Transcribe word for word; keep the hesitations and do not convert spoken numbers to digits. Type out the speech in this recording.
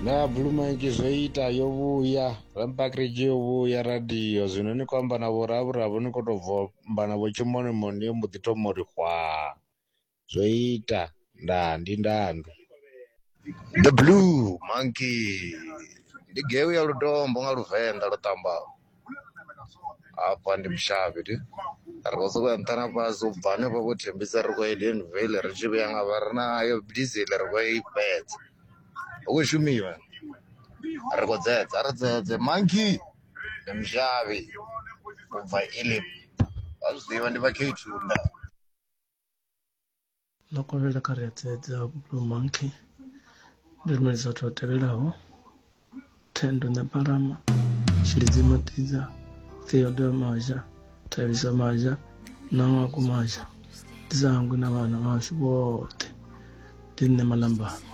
Na Blue Monkey zwo ita yo vhuya, Rampakridge yo vhuya radio zwino ni khou amba na vho Ravhuravu ni khou tou bva amba na vho Tshimonimoni yo mbo ḓi thoma uri hwaa. Zwo ita ndaa ndi ndandu. The Blue Monkey ndi geu ya lutombo nga Luvenḓa lwo ṱambaho. Hafha ndi mushavhi ndi ri khou sokou ya nṱha na fhasi u bva hanefha vho Thembisa ri khou ya Edenvale ri tshi vhuya nga vha ri nayo diesel ri khou i fhedza. Hu khou shumiwa ri khou dzedza ri dzedze monkey ndi mushavhi u bva Elim vha zwi ḓivha ndi vha K two nda. Ḽo kovhela kha ri a dzedza Blue Monkey ndi lumelisa vhathu vha tevhelaho Thendo Ṋepalama, Tshilidzi Matidza, Theodore Mazha, Thabiso Mazha na Ṅwako Mazha. Ndi sa hangwi na vhana vhashu vhoṱhe. Ndi nṋe Malambani.